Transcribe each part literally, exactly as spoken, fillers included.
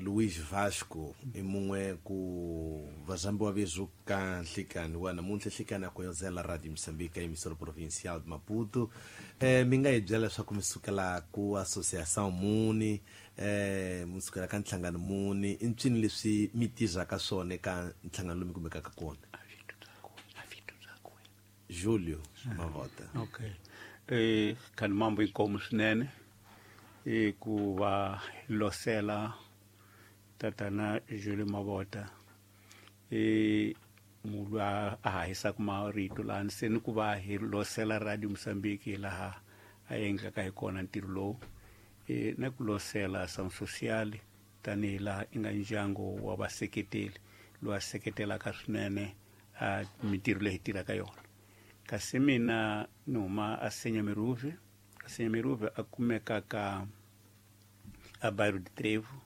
Luiz Vasco i mun'we ku vazambiwa vezu ka nhlikani wa namuntlha nhlikani a koyozela Radio Moçambique emissora provincial de Maputo. Eh mi nga hi byela leswaku mi sukela ku associação muni, eh mi sukela ka nhlangano muni, i ncini leswi mi tirhaka swona eka nhlangano lowu mi kumekaka kona? Julio Mavota. Okay. Eh kan mambo inkomo swinene e ku va losela tatana Julio Mavota e munhu a hahisaka marito laha se ni ku va hi losela Radio Moçambique laha a endlaka hi kona ntirho lowu, e na ku losela Ação Social tanihi laha i nga ndyangu wa vaseketeli lowu a seketelaka swinene a mintirho leyi hi tirhaka yona. Kasi mina ni huma a Senhamiruve. A Senhamiruve a kumeka ka a bairro de Trevo,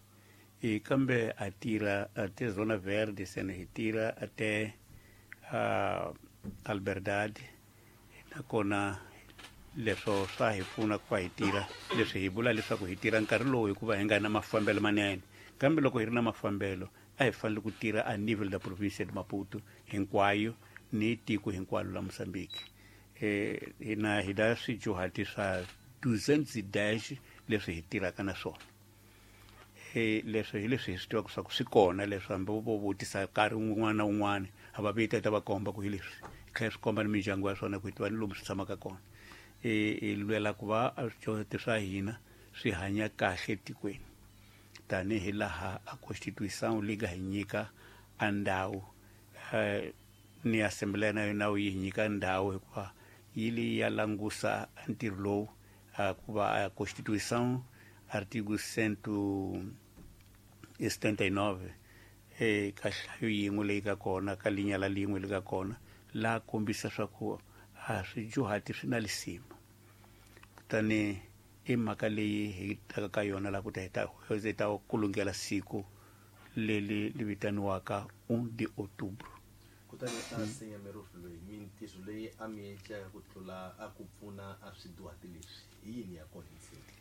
e kambe a tira a te Zona Verde, sene hi tira a te a Alberdade, nakona leswo swa hi pfuna ku va hi tira leswi hi vula leswaku hi tira nkarhi lowu hikuva hi nga na mafambelo manene, kambe loko hi ri na mafambelo a hi fanele ku tira a nível da província de Maputo hinkwayo ni tiko hinkwalo la Moçambique. Eh hina hi da swijuhati swa duzentos e dez leswi hi tirhaka na swona. Eh leswi hi leswi hi swi tivaka swa ku swi kona leswi hambi vo vutisa nkarhi wun'wana na wun'wana a va vita ta va komba ku hi leswi hi tlhela swi komba ni mindyangu ya swona ku hi tiva ni lomu swi tshamaka kona. E hi lwela ku va swidyondzo swa hina swi hanya kahle etikweni tanihi laha a Constituição leyi nga hi nyika a ndhawu, ni Assembleia Nacional yi hi nyika ndhawu hikuva yi li ya langusa ntirho lowu ku va a Constituição artigo cento e setenta e nove e ka hlayo yin'we leyi ka kona ka linya la lin'we leyi ka kona laha kombisa swa ku a swidyuhati swi na lisima. Kutani i mhaka leyi hi taka ka yona laha ku ta hi ta hi ta kulungela siku leri li vitaniwaka um de outubro. Kutani a Senhamiruve loyi mintirho leyi a mi endlaka ku tlula a ku pfuna a swidyuhati leswi hi yini ya kona ntsena?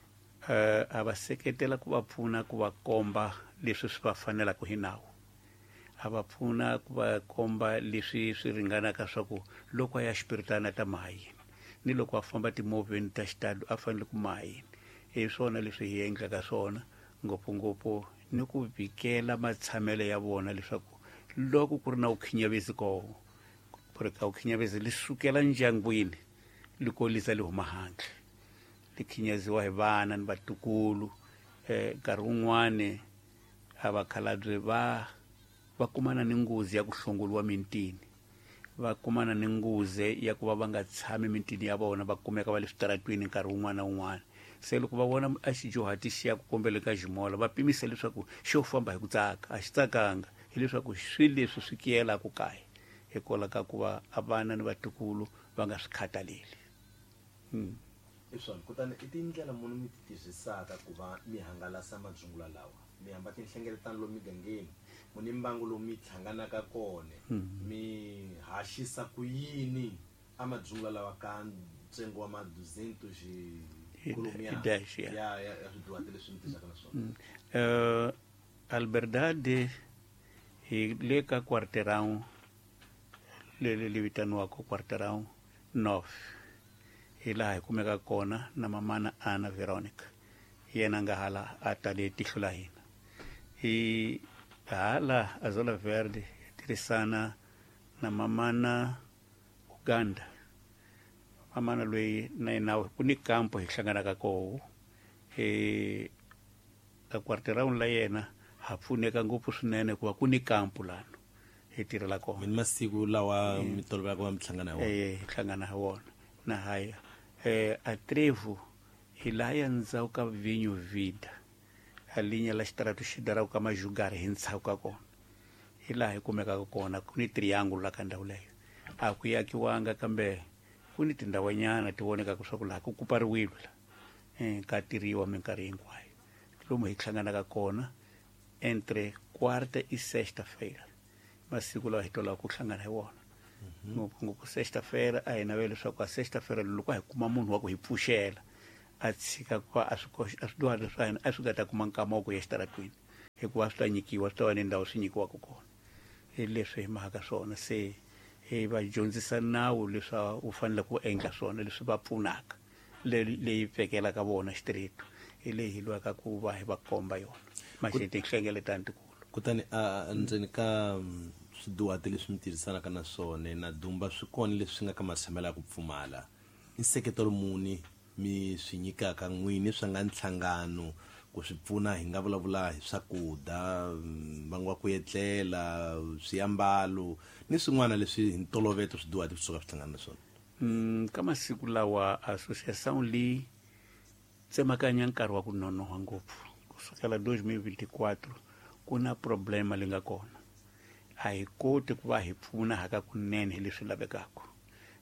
Eh a va seketela ku va pfuna ku va komba leswi swi va fanelaka hi nawu, a va pfuna ku va komba leswi swi ringanaka swa ku loko a ya xipiritana ta maha yini ni loko a famba timovheni ta xitalo a fanele ku maha yini. Hi swona leswi hi endlaka swona ngopfungopfu ni ku vikela matshamelo ya vona leswaku loko ku ri na vukhinyavezi koho ku ri ka vukhinyavezi li sukela ndyangwini li kolisa li huma handle li khinyaziwa hi vana ni vatukulu. Eh nkarhi wun'wani a vakhalabye va va kumana ni nghozi ya ku hlongoliwa mintini, va kumana ni nghozi ya ku va va nga tshami mintini ya vona, va kumeka va le switaratwini nkarhi wun'wana na wun'wana. Se loko va vona a xidyuhati xi ya ku kombela ka ximola va pimisa leswaku xo famba hi ku tsaka, a xi tsakanga, hileswaku swi leswi swi kiyelaka kaya hikwalaho ka ku va a vana ni vatukulu va nga swi khathaleli. Hmm. I swona. Kutani i tindlela muni mi ti tirhisaka ku va mi hangalasa madzungula lawa? Mi hamba tinhlengeletano lomu migangeni, mu ni mbangu lomu mi hlanganaka kona, mi haxisa ku yini a madzungula lawa ka ntsengo wa ma duzentos e dez ya ya ya swidyuhati leswi mi tirhisaka na swona? Eh Alberdade hi le ka quarteirão leri li vitaniwaka quarteirão nove, hi laha hi kumeka kona na mamana Ana Veronica, yena nga hala a tale tihlo la hina. Hi hala a Zona Verde hi tirhisana na mamana Uganda, mamana loyi na yena ku ni kampo hi hlanganaka koho e ka quarteirão la yena ha pfuneka ngopfu swinene hikuva ku ni kampo lano hi tirhela kona. Mi ni masiku lawa mi tolovelaka va mi hlangana hi wona? Eh hi hlangana hi wona na haya. Eh a Trevo hi laha ya ndzhaku ka Vinho Vida, a linya la xitaratu xi daraka ka Majugari hi ndzhaku ka kona, hi laha hi kumekaka kona. Ku ni triangle la ka ndhawu leyo, a ku yakiwanga kambe ku ni tindhawanyana ti vonekaka swa ku laha ku kupariwile la, eh ka tirhiwa minkarhi hinkwayo. Lomu hi hlanganaka kona entre quarta e sexta-feira, masiku lawa hi tolaka ku hlangana hi wona. Ngopfungopfu sexta-feira a hi navela leswaku a sexta-feira loko hi kuma munhu wa ku hi pfuxela a tshika ku va a swi a swidyuhari swa hina a swi nga ta kuma nkama wa ku ya exitaratwini. Hikuva swi ta nyikiwa swi ta va ni ndhawu swi nyikiwaka kona. Hi leswi hi mhaka swona se hi va dyondzisa nawu leswi u fanele ku endla swona leswi va pfunaka leyi pfekelaka vona xitirito hi leyi hi lwaka ku va hi va komba yona maxi tinhlengeletano tikulu. Kutani a ndzeni ka swiduhati leswi mi tirhisanaka na swona na dumba swi kona leswi nga ka matshamelo ya ku pfumala i nseketelo muni mi swi nyikaka n'wini swa nga nhlangano ku swi pfuna hi nga vulavula hi swakudya mbangu wa ku etlela swiambalo ni swin'wana leswi hi ntolovelo swiduhati swi suka swi hlangana na swona? Mm, ka masiku lawa association leyi tsemakanya nkarhi wa ku nonoha ngopfu kusukela dois mil vinte e quatro ku na problema leyi nga kona. A hi koti ku va hi pfuna haka kunene hi leswi lavekaka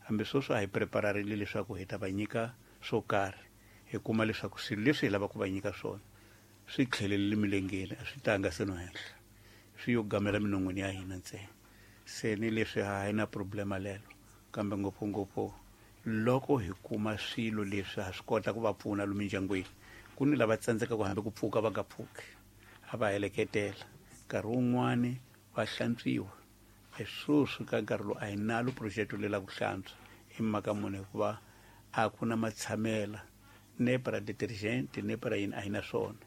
hambi sweswi a hi prepararile leswaku hi ta va nyika swo karhi hi kuma leswaku swilo leswi hi lavaka ku va nyika swona swi tlhelelile milengeni a swi tanga se no henhla swi yo gamela minon'wini ya hina ntsena. Se ni leswi a hi na problema lelo kambe ngopfungopfu loko hi kuma swilo leswi ha swi kota ku va pfuna lomu mindyangwini ku ni lava tsandzekaka hambi ku pfuka va nga pfuki a va heleketela nkarhi wun'wani va hlantswiwa. Sweswi ka nkarhi lowu a hi nalo project leyi la ku hlantswa hi mhaka muni hikuva a ku na matshamela nepara detergent nepara yini a hi na swona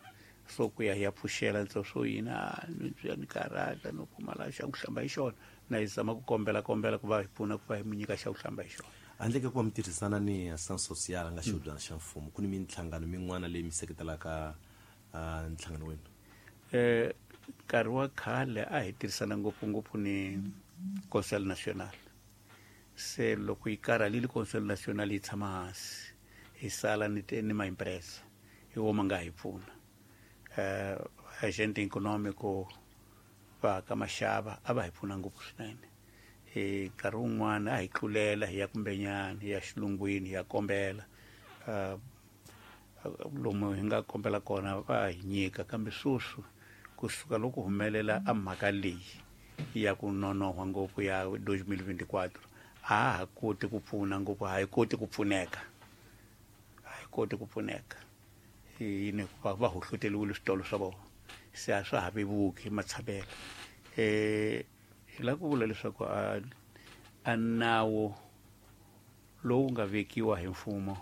so ku ya hi ya pfuxela ntso swo yini a ni ni karhata no pfumala xa ku hlamba hi xona na hi zama ku kombela kombela ku va hi pfuna ku va hi mu nyika xa ku hlamba hi xona. Handle ka ku va mi tirhisana ni Ação Social nga xihubyana xa mfumo ku ni minhlangano min'wana leyi mi seketelaka nhlangano wenu? Eh nkarhi wa khale a hi tirhisana ngopfungopfu ni Conseil National. Se loko yi karhalile Conseil National yi tshama hansi hi sala ni ni maimpresa hi wo ma nga hi pfuna. Eh agente econômico va ka maxava a va hi pfuna ngopfu swinene. Hi nkarhi wun'wana a hi tlulela hi ya kumbenyana hi ya xilungwini hi ya kombela lomu hi nga kombela kona va hi nyika kambe sweswi kusuka loko humelela a mhaka leyi ya ku nonohwa ngopfu ya dois mil vinte e quatro a ha koti ku pfuna ngopfu a hi koti ku pfuneka a hi koti ku pfuneka yini va va hohloteriwile switolo swa vona se a swa ha vevuki matshamelo. Eh hi lava ku vula leswaku a a nawu lowu nga vekiwa hi mfumo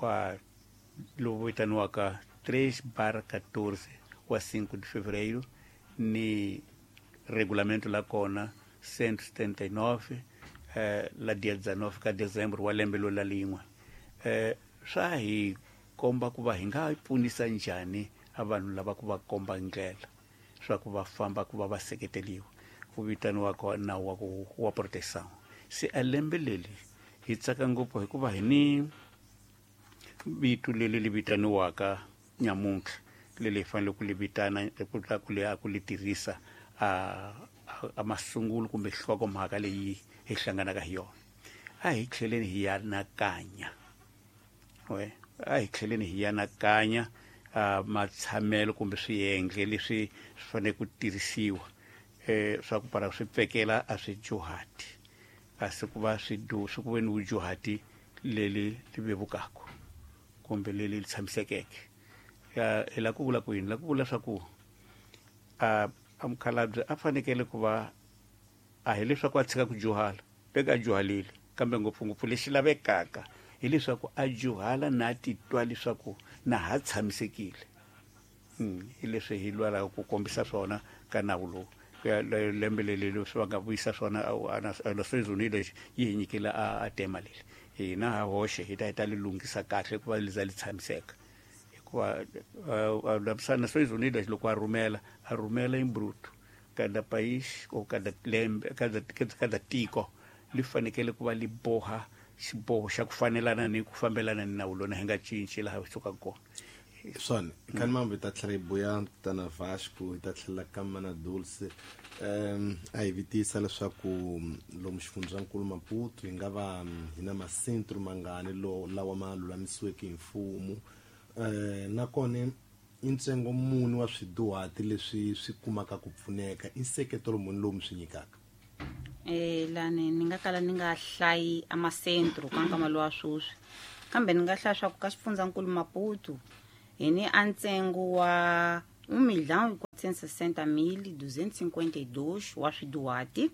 wa lowu vitaniwaka três barra quatorze wa cinco de fevereiro ni regulamento la kona cento e setenta e nove eh, la dia dezenove ka dezembro wa lembe lo la lin'we eh, swa hi komba ku va hi nga pfunisa njhani a vanhu lava ku va komba ndlela swa ku va famba ku va va seketeriwa ku vitaniwaka nawu wa ku wa proteção. Se a lembe leri hi tsaka ngopfu hikuva hi ni vito leri li vitaniwaka nyamuntlha leri hi fanele ku li vitana ku ta ku li a ku li tirhisa a a masungulo kumbe nhlokomhaka leyi hi hlanganaka hi yona. A hi tlheleni hi anakanya we a hi tlheleni hi anakanya matshamelo kumbe swiyenge leswi swi fanele ku tirhisiwa eh swa ku para swi pfekela a swi juhati kasi ku va swi du swi ku ve ni vujuhati leli li vevukaka kumbe leli li tshamisekeke. Hi lava ku vula ku yini? La ku vula swa ku a a mukhalabye a fanekele ku va a hi leswaku a tshika ku juhala veka a juhalile kambe ngopfungopfu lexi lavekaka hileswaku a juhala na titwa leswaku na ha tshamisekile. Hi leswi hi lwelaka ku kombisa swona ka nawu lowu lembe leri leswi va nga vuyisa swona Nações Unidas yi hi nyikile a tema leri hina ha hoxe hi ta hi ta li lunghisa kahle ku va li za li tshamiseka hikuva Nações Unidas loko a rhumela a rhumela em bruto cada país ou cada lembe cada cada tiko li fanekele ku va li boha xiboho xa ku fanelana ni ku fambelana ni nawu lona hi nga cinci laha hi sukaka kona. Swona khani mambo hi ta tlhela hi buya tana Vasco hi ta tlhela ka Mana Dulce um a hi vitisa leswaku lomu xifundzankulu Maputo hi nga va hi na masentro mangani lo lawa ma lulamisiweke hi mfumo um nakona i ntsengo muni wa swiduhati leswi swi kumaka ku pfuneka i nseketelo muni lowu mi swi nyikaka? Eh lani ni nga kala ni nga hlayi amasentro ka nkama lowa sweswi kambe ni nga hlaya swa ku ka xifundzankulu Maputo hi ni a ntsengo wa um milhão e cento e sessenta mil duzentos e cinquenta e dois wa swiduhati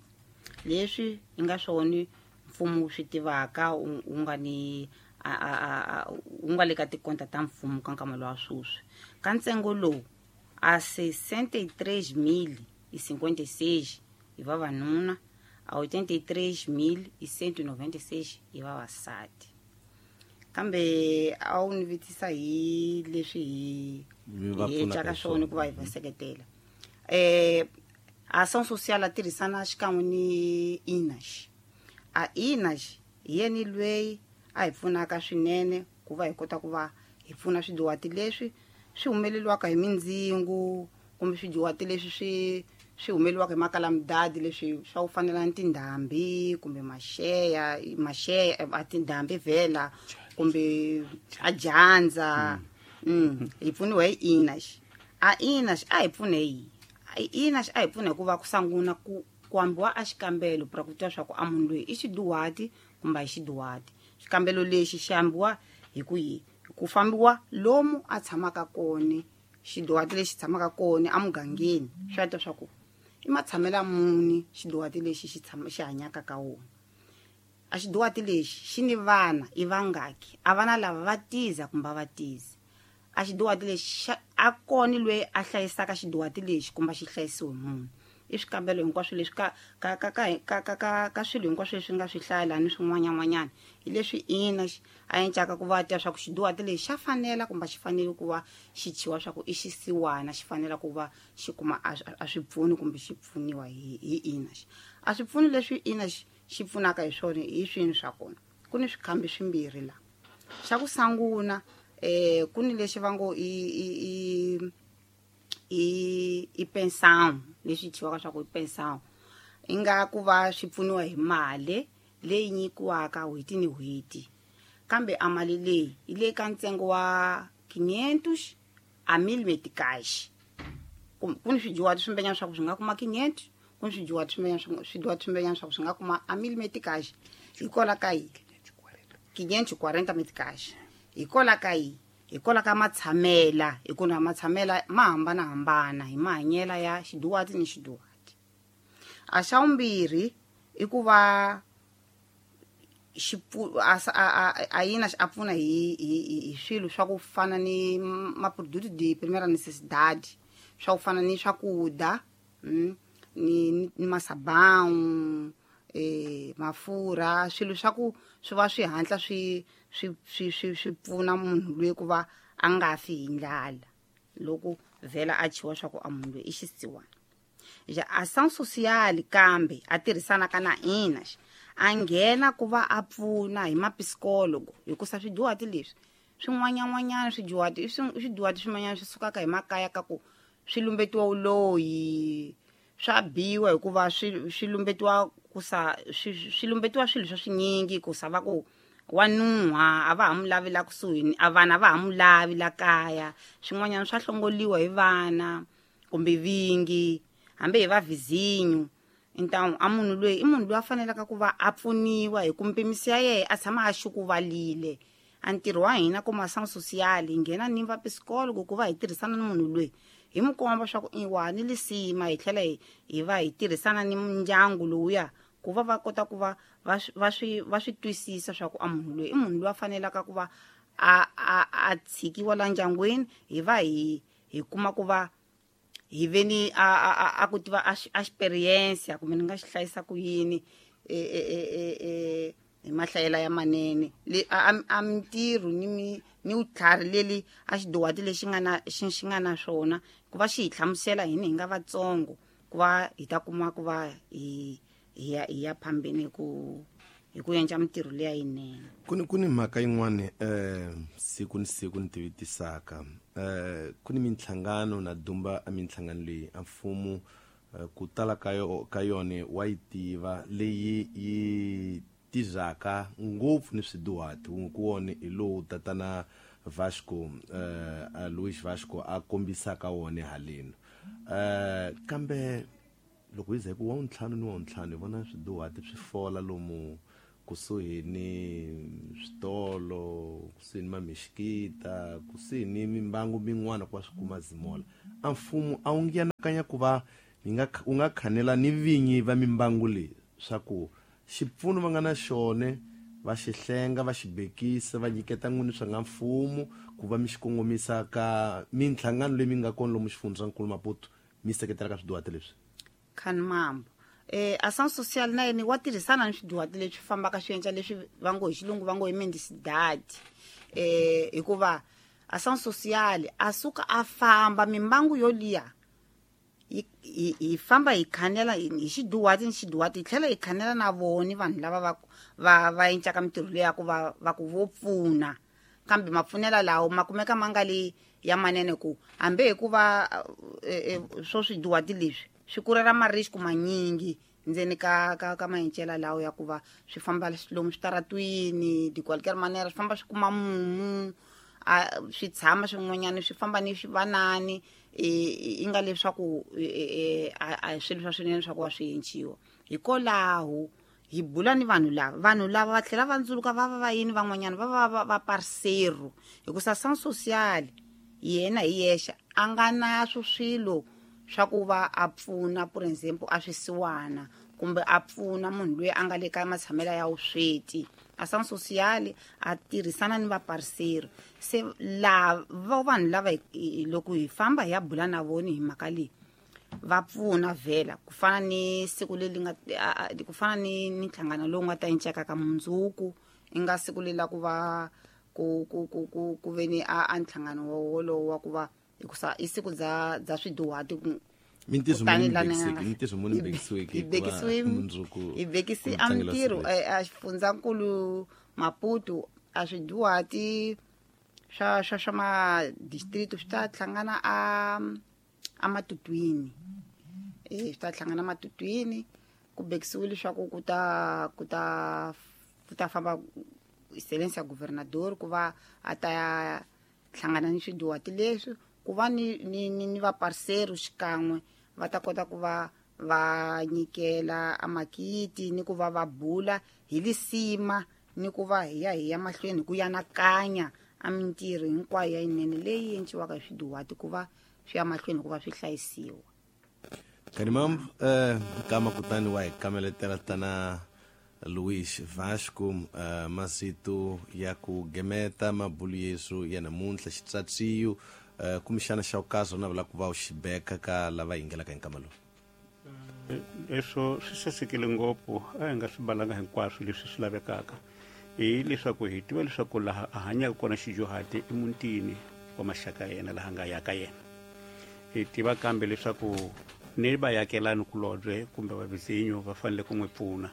leswi hi nga swona mfumo wu swi tivaka wu wu nga ni a a a wu nga le ka tikonta ta mfumo ka nkama lowa sweswi. Ka ntsengo lowu a sessenta e três mil e cinquenta e seis hi vavanuna, a oitenta e três mil e cento e noventa e seis hi vavasati. Kambe a wu ni vutisa hi leswi hi Mi va hi pfunaka endlaka hi swona swona. ku va hi va seketela. eh Ação Social a tirhisana xikan'we ni I N A S. A I N A S hi yeni lweyi a hi pfunaka swinene ku va hi kota ku va hi pfuna swidyuhati leswi swi humeleliwaka hi mindzingu kumbe swidyuhati leswi swi swi humeleliwaka hi makalamudadi, leswi swa ku fanela ni tindhambi kumbe maxeya maxeya a tindhambi vhela kumbe a dyandza. mm hi pfuniwa hi I N A S. A I N A S a hi pfune hi I N A S a hi pfuna hikuva ku sungula ku ku ambiwa a xikambelo pra ku tiva swa ku a munhu loyi i xidyuhati kumbe a hi xidyuhati. Xikambelo lexi xi ambiwa hi ku yi ku fambiwa lomu a tshamaka kona xidyuhati lexi tshamaka kona emugangeni, swi ta swa ku i matshamelo muni xidyuhati lexi xi tshama xi hanyaka ka wona. A xidyuhati lexi xi ni vana i vangaki, a vana lava va tiza kumbe a va tizi. A xidyuhati lexi xa a kona loyi a hlayisaka xidyuhati lexi kumbe xi hlayisiwe munhu. I swikambelo hinkwaswo leswi ka ka ka ka ka ka ka ka swilo hinkwaswo leswi nga swi hlaya laha ni swin'wanyan'wanyana hi leswi ina a encaka ku va tiva swa ku xidyuhati lexi xa fanela kumbe xi fanele ku va xi thyiwa swa ku i xisiwana, xi fanela ku va xi kuma a a swipfuni kumbe xi pfuniwa hi hi ina. A swipfuni leswi ina xi pfunaka hi swona hi swini swa kona ku ni swikhambi swimbirhi la. Xa ku sungula eh ku ni lexi va ngo i i i i i pensão, leswi thyiwaka swa ku i pensão, i nga ku va swi pfuniwa hi mali leyi nyikiwaka n'hweti ni n'hweti, kambe a mali leyi yi le ka ntsengo wa quinhentos a mil meticais. Ku ku ni swidyuhati swimbenyana swa ku swi nga kuma quinhentos, ku ni swidyuhati swimbenyana swidyuhati swimbenyana swa ku swi nga kuma a mil meticais. Hikola ka yi quinhentos e quarenta meticais hikola ka yi hikola ka matshamela, hi ku na matshamela ma hambanahambana hi mahanyela ya xidyuhati ni xidyuhati. A xa vumbirhi i ku va xi a a a yina a pfuna hi hi hi swilo swa ku fana ni ma-produto de primeira necessidade, swa ku fana ni swakudya, mm, ni ni masabão, eh mafurha, swilo swa ku swi va swi hatla swi swi swi swi swi pfuna munhu loyi ku va a nga fi hi ndlala loko vhela a thyiwa swa ku a munhu loyi i xisiwana. Ja ação social kambe a tirhisanaka na I N A S a nghena ku va a pfuna hi mapsikologo, hikusa swidyuhati leswi swin'wanyan'wanyana swidyuhati i swidyuhati swin'wanyana swi sukaka hi makaya ka ku swi lumbetiwa vuloyi, swa biwa hikuva swi swi lumbetiwa ku sa swi swi lumbetiwa swilo swa swinyingi ku sa va ku wa nuha, a va ha mu lavi la kusuhi, a vana va ha mu lavi la kaya, swin'wanyana swa hlongoliwa hi vana kumbe vingi hambi hi va vizinho. Então a munhu loyi i munhu loyi a fanelaka ku va a pfuniwa hi ku mpimisi ya yena a tshama a xukuvalile. A ntirho wa hina kuma ação social hi nghena ni va psikologo ku va hi tirhisana ni munhu loyi hi mu komba swa ku i wa ni lisima, hi tlhela hi hi va hi tirhisana ni ndyangu lowuya ku va va kota ku va va va swi va swi twisisa swa ku a munhu loyi i munhu loyi a fanelaka ku va a a a tshikiwa la ndyangwini, hi va hi hi kuma ku va hi ve ni a a a ku tiva a experience kumbe ni nga xi hlayisa ku yini e e e e hi mahlayela ya manene le a a mintirho ni mi ni vutlhari leli a xidyuhati lexi nga na xi xi nga na swona ku va xi hi hlamusela hini hi nga vatsongo ku va hi ta kuma ku va hi hi ya hi ya phambeni hi ku hi ku endla mintirho leya yinene. Ku ni ku ni mhaka yin'wani eh siku ni siku ni tivitisaka eh ku ni minhlangano na dumba a minhlangano leyi a mfumo ku tala ka yo ka yona wa yi tiva leyi yi tizaka ngopfu ni swidyuhati. Wun'we ku wona hi lowu tatana Vasco eh Luis Vasco a kombisaka wona haleni, eh kambe loko hi ze ku wa ntlhanu ni wa ntlhanu hi vona swidyuhati swi fola lomu kusuhi ni switolo, kusuhi ni mamixikita, kusuhi ni mimbangu min'wana ku va swi kuma zimola. A mfumo a wu ngianakanya ku va mi nga u nga khanela ni vinyi va mimbangu leyi swa ku xipfuno va nga na xone va xi hlenga va xi bekisa va nyiketa n'wini swa nga mfumo ku va mi xi kongomisa ka minhlangano leyi mi nga kona lomu xifundzankulu Maputo mi seketela ka swiduhati leswi. Khanimambo eh ação social na yena wa tirhisana ni swiduhati leswi fambaka swi endla leswi va ngo hi xilungu va ngo hi mendicidade eh hikuva ação social a suka a famba mimbangu yo liya hi hi famba hi khanela hi xiduhati ni xiduhati hi tlhela hi khanela na voni vanhu lava va va va endlaka mintirho leyi ya ku va va ku vo pfuna kambe mapfunela lawo ma kumeka ma nga li ya manene ku hambi hikuva swo swiduhati leswi swi kurela marisku manyingi ndzeni ka ka ka maencela lawo ya ku va swi famba lomu switaratwini de qualquer manera swi famba swi kuma mumu a swi tshama swin'wanyana swi famba ni swivanani i nga leswaku a swilo swa swinene swa ku va swi enciwa hikwalaho hi bula ni vanhu lava vanhu lava va tlhela va ndzuluka va va va yini van'wanyana va va va va parceiro hikusa ação social yena hi yexe a nga na swo swilo swa ku va a pfuna por exemple a swisiwana kumbe a pfuna munhu loyi a nga le ka matshamelo ya vusweti. Ação social a tirhisana ni vaparceiro se la va vanhu lava loko hi famba hi ya bula na vona hi mhaka leyi va pfuna vhela ku fana ni siku leri nga ku fana ni ni nhlangano lowu nga ta enceka ka mundzuku i nga siku leri la ku va ku ku ku ku ku ve ni a a nhlangano wolowo wa ku va hikusa i siku bya bya swiduhati mintirho muni bekisiweke mintirho muni bekisiweke hi bekisiwe mundzuku hi bekisi a mintirho a xifundzankulu Maputo a swiduhati swa swa swa ma-district swi ta hlangana a a matutwini eh swi ta hlangana matutwini ku bekisiwe leswaku ku ta ku ta ku ta famba excelência governador ku va a ta hlangana ni swiduhati leswi ku va ni ni ni, ni vaparceiro xikan'we va ta kota ku va va nyikela amakiti ni ku va va bula hi lisima ni ku va hi ya hi ya mahlweni ku yanakanya a mintirho hinkwayo ya yinene leyi enciwaka hi swiduhati ku va swi ya mahlweni ku va swi hlayisiwa. Kanimambo eh kama kutani wa hi kameletela tana Luís Vasco uh, masito ya ku gemeta mabulu yesu ya namuntlha xitsatsiyo uh, kumbexana xa ukazo na vula ku va u xibeka ka lava yingelaka hi nkama lowu. Leswo swi sasekile ngopfu a hi nga swi balanga hinkwaswo leswi swi lavekaka hi leswaku hi tiva leswaku laha a hanyaka kona xidyuhati emutini wa maxaka ya yena laha nga yaka yena hi tiva kambe leswaku ni vayakelani kulobye kumbe vavizinyo va fanele ku n'wi pfuna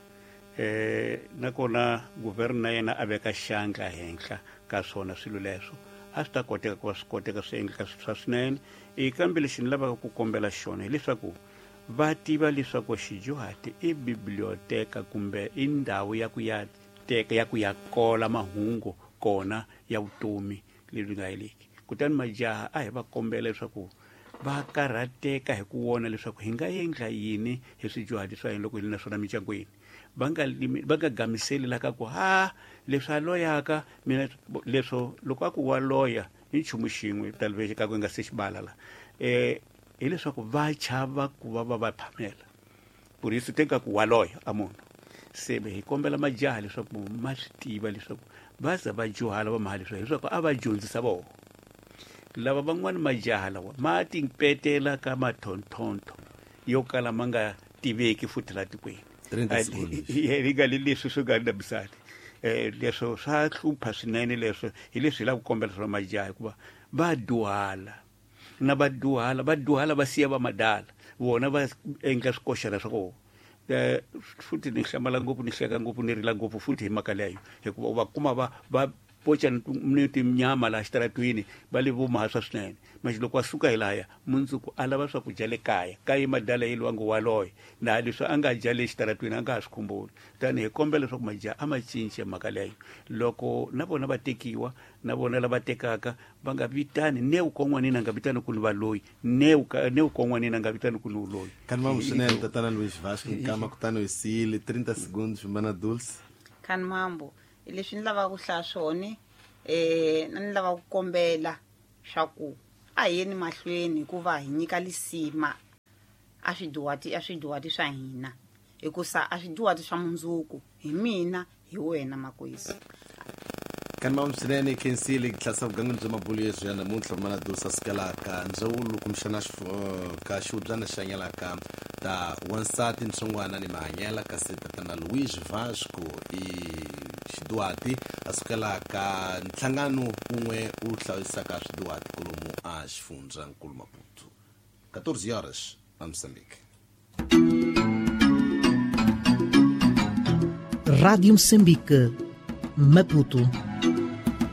eh nakona guvernor na yena a veka xandla henhla ka swona swilo leswo a swi ta koteka ku va swi koteka swi endleka swa swinene e kambe lexi ni lavaka ku kombela xona hileswaku va tiva leswaku xidyuhati i biblioteka kumbe i ndhawu ya ku ya teka ya ku ya kola mahungu kona ya vutomi lebyi nga heliki kutani majaha a hi va kombela leswaku va karhateka hi ku vona leswaku hi nga endla yini hi swidyuhati swa hina loko hi ri na swona mindyangwini va nga va nga gamiseli la ka ku ha leswi a loyaka mina leswo loko a ku wa loya i nchumu xin'we taluvexi ka ku nga se xibala la eh hileswaku va chava ku va va va phamela por isso tem ka ku wa loya a munhu se hi kombela majaha leswaku ma swi tiva leswaku va za va dyuhala va maha leswaku leswaku a va dyondzisa vona lava van'wani majaha lawa ma timpetela ka mathonthonto yo kala ma nga tiveki futhi la tikweni yi nga leswi swi nga ndabisani eh leswo swa hlupha swinene leswo hi leswi hi lava ku kombela swona majaha hikuva va dyuhala na va dyuhala va dyuhala va siya va madala vona va endla swikoxana swa kona eh futhi ni hlamala ngopfu ni hleka ngopfu ni rila ngopfu futhi hi mhaka leyo hikuva u va kuma va va pocha ni tinyama laha xitaratwini va le vomaha swa swinene manje loko a suka hi lahaya mundzuku a lava swakudya le kaya kaye madala ye lwangu waloye na leswi a nga dya le xitaratwini a nga ha swi khumbuli tani hi kombela leswaku majaha a ma cince mhaka leyo loko na vona va tekiwa na vona lava tekaka va nga vitani ne kon'wanini a nga vitani ku ni valoyi ne ne kon'wanini a nga vitani ku ni uloyi. Kanimambo swinene tatana Luís Vasco nkama kutani hi siyile trinta segundos mana Dulce. Kanimambo leswi ni lavaka ku hlaya swona eh ni lava ku kombela swa ku A hi yeni mahlweni hikuva hi nyika lisima a swiduwati a swiduwati swa hina, hikusa a swiduwati swa mundzuku hi mina hi wena makwesi. Kani mama swinene khensile ku tlhasa vugangeni bya mabulu yeswi ya namuntlha mana dusa sukelaka ndzawulo kumbexana ka xiubyana xa nyalaka ta wansati ntsongwana ni mahanyela, kasi tatana Luiz Vasco i xiduwati a sukelaka nhlangano wun'we wu hlayisaka swiduwati kolomu a xifundza nkulu Maputo. catorze horas a Moçambique. Rádio Moçambique, Maputo.